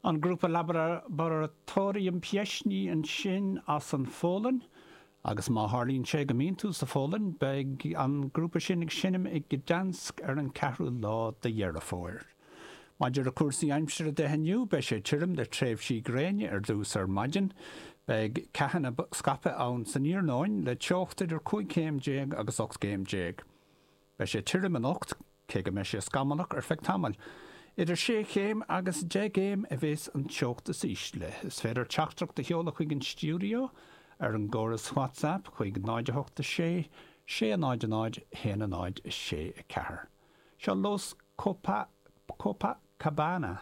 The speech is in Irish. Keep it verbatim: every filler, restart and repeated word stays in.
An grúpa Laboratorium Pieśni ansin as an Pholainn, agus má tharlaíonn sé go mbíonn tú sa Pholainn, beidh an grúpa sin ag seinm i Gdansk ar an ceathrú lá de Dheireadh Fómhair. Maidir le cúrsaí aimsire de inniu, beidh sé tirim le tréimhsí gréine ar dtús ar maidin, beidh ceathanna scaipthe ann san iarnóin le teocht idir cúig chéim déag agus ocht gcéim déag. Beidh sé tirim anocht, cé go mbeidh sé scamallach ar feadh tamaill. Idir sé chéim agus deich gcéim a bheas an teocht is ísle. Is féidir teachtaireacht a sheoladh chuig an stiúideo ar an gcóras WhatsApp chuig náid a hocht a sé, sé a náid a náid, haon a náid a sé a ceathair. Seo Los Copa Copacabana.